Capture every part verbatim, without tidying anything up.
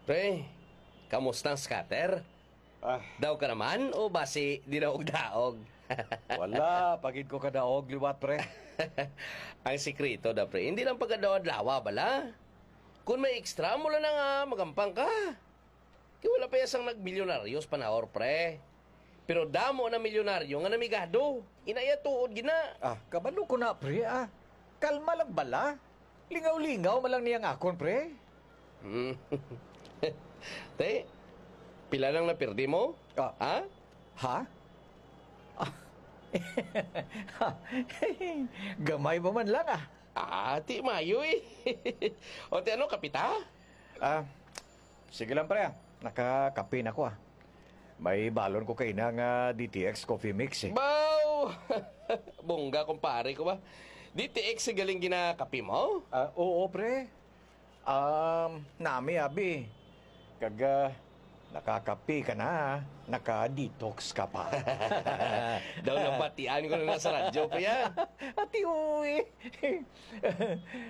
Pre, kamusta ang scatter? Ah. Daw ka naman o basi di na og daog? Wala, pagid ko kadaog liwat, pre. Ang sikreto da, pre, hindi lang pagkadaw-adlawa, bala. Kung may extra mo lang nga, magampang ka. Kay wala pa ya sang nagmilyonaryo sa panahor, pre. Pero damo na milyonaryo nga namigado. Inaya tuod gina. Ah, kabalo ko na, pre, ah. Kalma lang bala. Lingaw-lingaw man lang niyang akon, pre. Hmm. Te, pila lang na pirdi mo? Ah. Ha? Ha? Ah. Gamay pa man lang, ah. Ah, ti mayo eh. O, ti ano, kapita? Ah, sige lang, pre, ah. Nakakape na ko, ah. May balon ko kaina nga D T X coffee mix, eh. Baw! Bongga, kumpare ko ba? D T X ang galing ginakape mo? Ah, oo, pre. Um, nami, abi. Kag, ah, nakakape ka na, ah. Naka-detox ka pa. Daw nabatian ko na sa radyo, pre, ah. Ati, uy.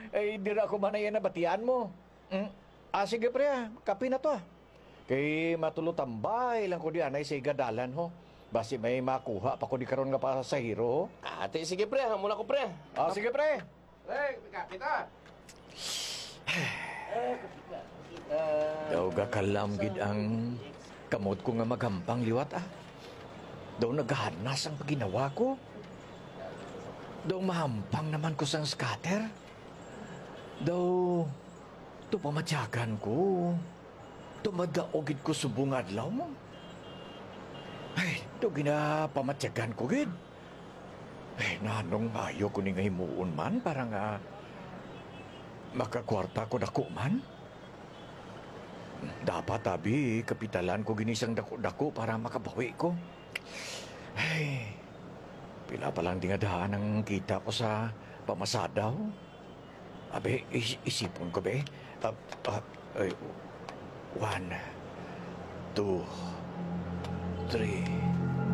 Ay, dira ko man na yan nabatian mo. Mm. Ah, sige, pre, ah. Kape na to, ah. Kay matulotambay lang ko di anay sa igadalan, ho. Basi may makuha pa ko di karon nga pasahero, ho. Ah, ti, sige, pre, ah. Amo na ko, pre. Ah, sige, pre. Pre, may kape ta. Eh, kape ta. Daw gakalam gid ang kamot ko nga magampang liwat, ah. Daw nagahanas ang paginawa ko. Daw mahampang naman ko sang scatter. Daw, to pamatyagan ko. To madaog gid ko subong adlaw mo. Ay, to ginapamatyagan ko gid. Ay, nanong mayo ko ni nga himuon man para nga makakwarta ko dako man? Dapat, abi, kapitalan ko gini sang dako-dako para makabawi ko. Ay, pila pa lang di nga daan ang kita ko sa pamasadaw. Abi, is-, isipon ko, be. Ah, ah, ay, one, two, three.